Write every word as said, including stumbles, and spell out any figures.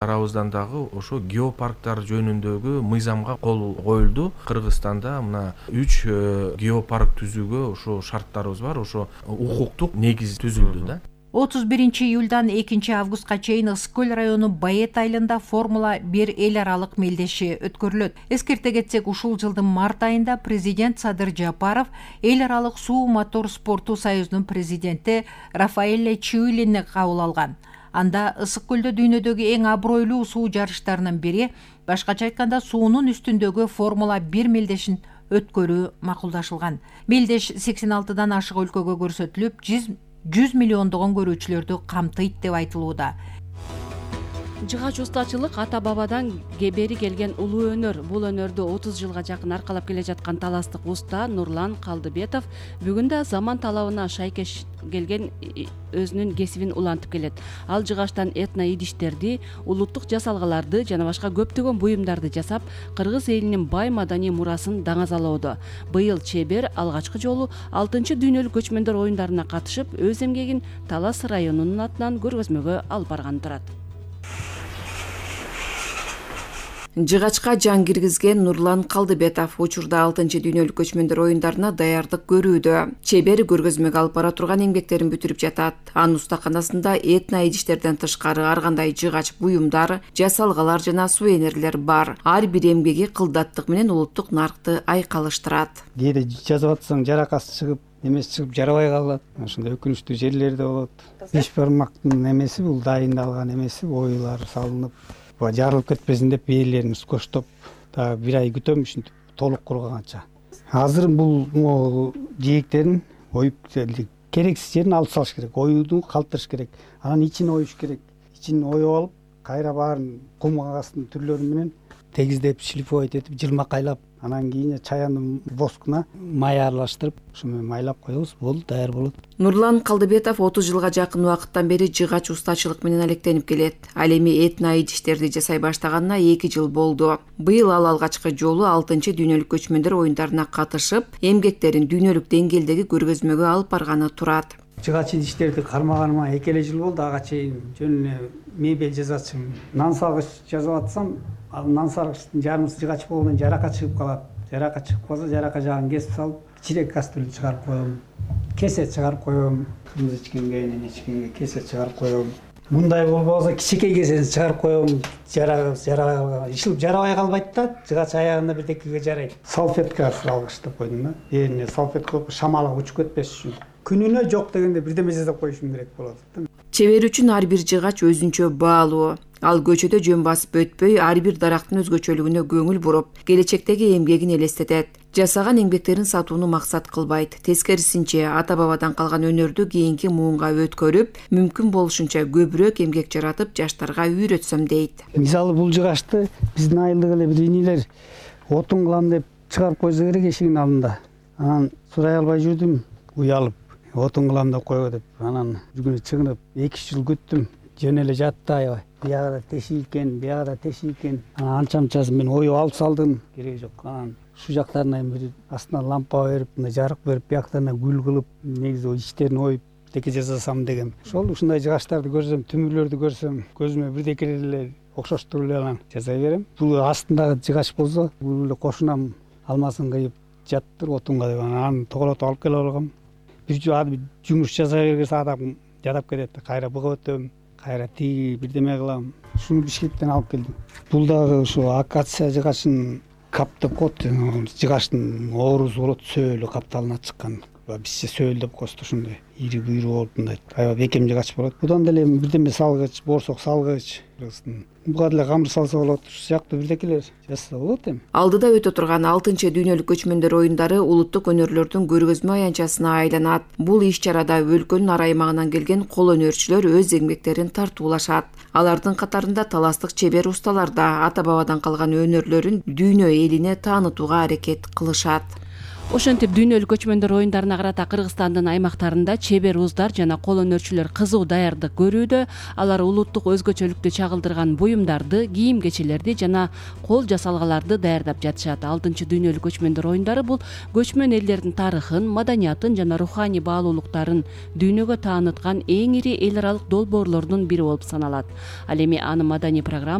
Арабыздан дагы ошо геопарктар жөнүндөгү мыйзамга кол коюлду. Кыргызстанда мына үч геопарк түзүүгө ошо шарттарыбыз бар, ошо укуктук негиз түзүлдү да. отуз биринчи июлдан экинчи августка чейин Ысык көл району Баэт айылында Формула бир эл аралык мелдеши өткөрүлөт. Эскерте кетсек, ушул жылдын март айында президент Садыр Жапаров эл аралык суу мотор спорту союзунун президенти Рафаэле Чиулини кабыл алган. Анда Ысык көлдө дүйнөдөгү эң абройлуу суу жарыштарынын бири, башкача айтканда суунун үстүндөгү Формула бир мелдешин өткөрүү макулдашылган. Мелдеш сексен алтыдан ашык өлкөгө көрсөтүлүп, жүз миллиондогон көрүүчүлөрдү камтыйт деп айтылууда. Жыгач устачылык ата бабадан бери келген улуу өнөр. Бул өнөрдү отуз жылга жакын аркалап келе жаткан таластык уста Нурлан Калдыбетов бүгүн да заман талабына шайкеш келген өзүнүн кесибин улантып келет. Ал жыгачтан этно идиштерди, улуттук жасалгаларды жана башка көптөгөн буюмдарды жасап, кыргыз элинин бай маданий мурасын даңазалоодо. Быйыл чебер алгачкы жолу алтынчы дүйнөлүк көчмөндөр оюндарына катышып, өз эмгегин Талас районунун атынан көргөзмөгө алып барган турат. Жыгачка жан киргизген Нурлан Калдыбетов учурда алтынчы дүйнөлүк көчмөндөр оюндарына даярдык көрүүдө. Чебер көргөзмөгө алып бара турган эмгектерин бүтүрүп жатат. Анын устаканасында этно идиштерден тышкары ар кандай жыгач буюмдар, жасалгалар жана сувенирлер бар. Ар бир эмгеги кылдаттык менен улуттук наркты айкалыштырат. Кээде жазып атсаң жаракасы чыгып, эмеси чыгып жарабай калат. Ошондой өкүнүчтүү жерлер да болот. Беш бармактын эмеси бул дайындалган эмеси, оюлар салынып, жарылып кетпесин деп ээлерин скоштоп, да бир ай күтөм ушинтип толук курганча. Азыр бул жээктерин оюп керексиз жерин алып салыш керек, оюуну калтырыш керек. Анан ичин оюш керек. Ичин оюп алып, кайра баарын кум астын түрлөрү менен тегиздеп, шлифовать этип, жылмакайлап, анан кийин чаянын воскуна май аралаштырып, ушу менен майлап коебуз, бул даяр болот. Нурлан Калдыбетов отуз жылга жакын убакыттан бери жыгач устачылык менен алектенип келет. Ал эми этно идиштерди жасай баштаганына эки жыл болду. Быйыл ал алгачкы жолу алтынчы дүйнөлүк көчмөндөр оюндарына катышып, эмгектерин дүйнөлүк деңгээлдеги көргөзмөгө алып барганы турат. Жыгач идиштерди кармаганыма эки эле жыл болду. Ага чейин жөн эле мебель жасачумун. Нан саргыч жасап атсам, ал нан саргычтын жарымысы жыгач болгондон жарака чыгып калат. Жарака чыгып калса, жарака жагын кесип салып, чирек кастрюль чыгарып коем, кесе чыгарып коем, кымыз ичкенге, эне ичкенге кесе чыгарып коем. Мындай болбосо кичинекей кесени чыгарып коем, жара жара ишилип жарабай калбайт да, жыгач аягында бирдекеге жарайт. Салфетка салгычтап койдум да. Эне салфетка шамалы учуп кетпеш үчүн. Күнүнө жок дегенде бирдеме жасап коюшум керек болот. Чебер үчүн ар бир жыгач өзүнчө баалуу. Ал көчөдө жөн басып өтпөй, ар бир дарактын өзгөчөлүгүнө көңүл буруп, келечектеги эмгегин элестетет. Жасаган эмгектерин сатууну максат кылбайт. Тескерисинче, ата-бабадан калган өнөрдү кийинки муунга өткөрүп, мүмкүн болушунча көбүрөөк эмгек жаратып, жаштарга үйрөтсөм дейт. Мисалы бул жыгачты биздин айылдык эле бир инилер отун кылам деп чыгарып койсо керек эшигин алдында. Анан сурай албай жүрдүм, уялып, отун кылам деп койго деп. Анан бүгүн чыгынып эки жыл күттүм. Жөн эле жатты аябай. Биягда теши экен, биягда теши экен. Анан анча-мынчасын мен оюп алып салдым. Кереги жок. Анан шу жактарына бир астына лампа берип, мындай жарык берип, бияктарына гүл кылып, негизи ичтерин оюп деке жасасам дегем. Ошол ушундай жыгачтарды көрсөм, түмүрлөрдү көрсөм, көзүмө бирдеке эле окшоштуруп эле анан жасай берем. Бул астындагы жыгач болсо, бул эле кошунам алмасын кыйып жаттыр отунга деп анан тоголотуп алып келип алгам. Бир жумуш жасай бергенсе адам жадап кетет. Кайра буга өтөм, кайра тиги бирдеме кылам. Шуну Бишкектен алып келдим. Бул дагы ушу акация жыгачын кап деп коет. Жыгачтын оорусу болот, сөөлү капталына чыккан. Бизче сөөл деп коебуз, ушундай ири буйруу болуп мындай аябай бекем жыгач болот. Будан деле бирдеме салгыч, борсок салгыч, буга деле камыр салса болот. Ушул сыяктуу бирдекелер жасаса болот эми. Алдыда өтө турган алтынчы дүйнөлүк көчмөндөр оюндары улуттук өнөрлөрдүн көргөзмө аянтчасына айланат. Бул иш-чарада өлкөнүн ар аймагынан келген кол өнөрчүлөр өз эмгектерин тартуулашат. Алардын катарында таластык чебер усталар да ата-бабадан калган өнөрлөрүн дүйнө элине таанытууга аракет кылышат. Ошентип дүйнөлүк көчмөндөр оюндарына карата Кыргызстандын аймактарында чебер уздар жана кол өнөрчүлөр кызуу даярдык көрүүдө. Алар улуттук өзгөчөлүктү чагылдырган буюмдарды, кийим-кечелерди жана кол жасалгаларды даярдап жатышат. алтынчы дүйнөлүк көчмөндөр оюндары бул көчмөн элдердин тарыхын, маданиятын жана руханий баалуулуктарын дүйнөгө тааныткан эң ири эл аралык долбоорлордун бири болуп саналат. Ал эми анын маданий программа